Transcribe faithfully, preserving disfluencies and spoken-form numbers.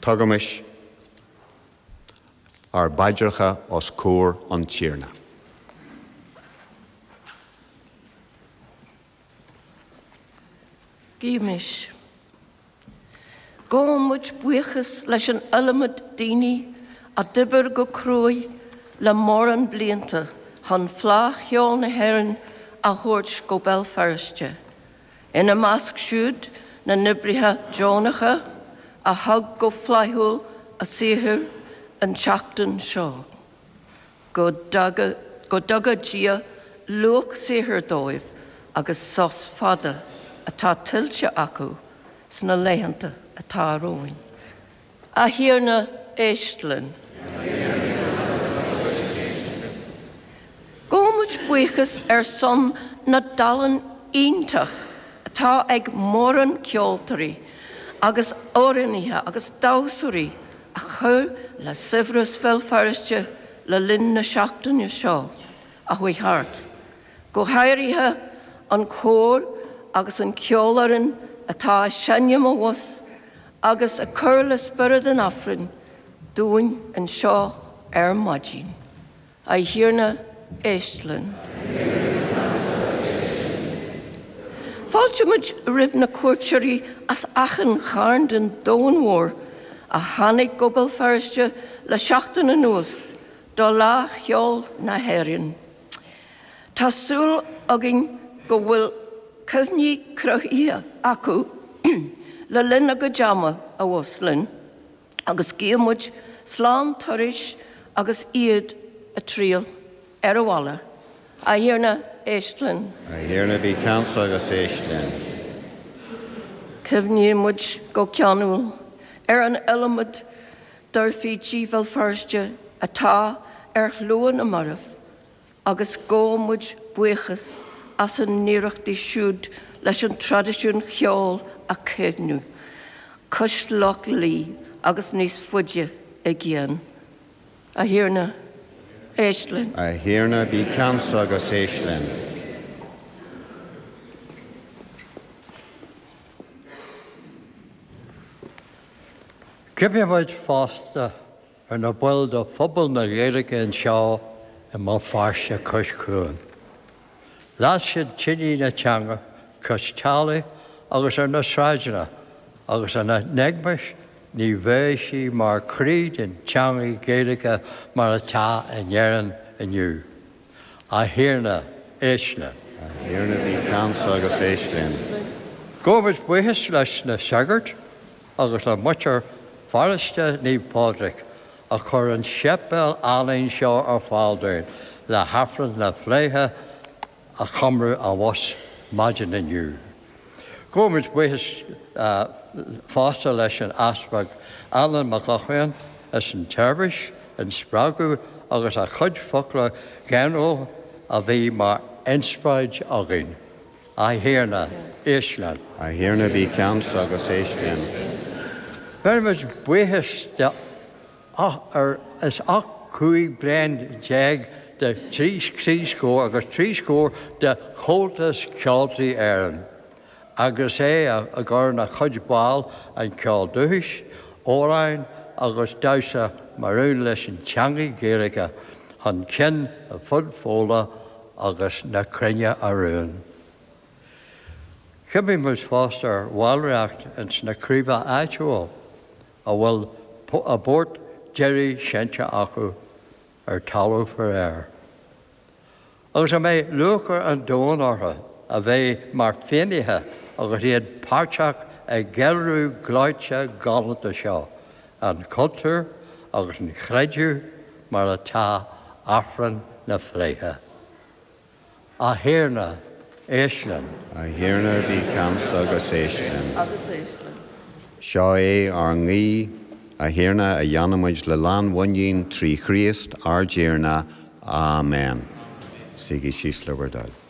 Tugaimis ár bpaidreacha os comhair an Tiarna. Guímis. Gabhaimid buíochas leis an iliomad daoine a d'oibir go cruaidh le mórán blianta chun Fleadh Cheoil na hÉireann a thabhairt go Béal Feirste. Ina measc siúd na n-oibrithe deonacha a thug go flaithiúil a saothar an tseachtain seo. Go dtuga Dia luach saothair dóibh agus sos fada atá tuillte acu sna laethanta atá romhainn. A Thiarna, éist linn. Gabhaimid buíochas ar son na dtallann iontach atá ag mórán ceoltóirí agus amhránaithe agus damhsóirí a chur le saibhreas Bhéal Feirste le linn na seachtaine seo a chuaigh thart. Go háirithe an cór agus an ceolfhoireann atá ag seinm abhus agus ag cur le spiorad an Aifrinn dúinn anseo ar maidin. A Thiarna, éist linn. Fáiltímid roimh na cuairteoirí as achan chearn den domhan mhór a tháinig go Béal Feirste le seachtain anuas do Fhleadh Cheoil na hÉireann. Tá súil againn go bhfuil cuimhní cruthaithe acu le linn a gcuid ama abhus linn, agus guímid slán turais agus iad ag triall ar an bhaile. A Thiarna, éist linn. A Thiarna, bí ceansa agus éist linn. Cuimhnímid go ceanúil ar an iliomad d'oirfidigh Bhéal Feirste atá ar shlua na marbh, agus gabhaimid buíochas as a n-iarrachtaí siúd leis an traidisiún cheoil a chaomhnú, cois Loch Lao agus níos faide i gcéin. A Thiarna, éist linn. A Thiarna, bí ceansa agus éist linn. Cuimhnímid fosta ar na baill de phobal na Gaeilge anseo i mBéal Feirste cois Cuain. Las siad tine na teanga cois teallaigh agus ar na sráideanna agus ina n-éagmais ní bheadh sí mar chroí den teanga Ghaeilge mar atá in Éirinn inniu. A Thiarna, éist linn. A Thiarna, bí ceansa agus éist linn. Gabhaimid buíochas leis na sagairt agus le muintir Pharóiste Naomh Pádraig a chuir an séipéal álainn seo ar fáil dúinn le hAifreann na Fleidhe a chomóradh abhus maidin inniu. Gabhaimid buíochas fosta leis an Easpag Alan Mac Lochlainn as an tseirbhís, an spreagadh agus a chuid focla geanúil a bhí mar inspioráid againn. A Thiarna, éist linn. A Thiarna, bí ceansa agus éist linn. Beirimid buíochas de ar is ocht cúig bliain déag de trí trí scór agus trí scór de Chomhaltas Ceoltóirí Éireann, agus é a gcuireann a chuid ball an ceol dúchais, amhráin agus damhsa maraon leis an teanga Ghaeilge chun cinn ar fud Fódhla agus na cruinne araon. Cuimhnímid fosta ar bhallraíocht ins na craobhacha áitiúil a bhfuil a bport deiridh seinnte acu ar talamh faoi Agus a mbeidh lúcháir an domhain orthu a bheith mar fhéinnithe agus iad páirteach i gceiliúradh gleoite galánta seo, an cultúr agus an chreideamh mar atá Aifreann na Fleidhe. A Thiarna, éist linn. A Thiarna, bí ceansa agus éist linn. Agus éist linn. Seo é ár nguí, a Thiarna, a dhéanaimid le lánmhuinín trí Chríost ár dTiarna. Amen. Suígí síos le bhur dtoil.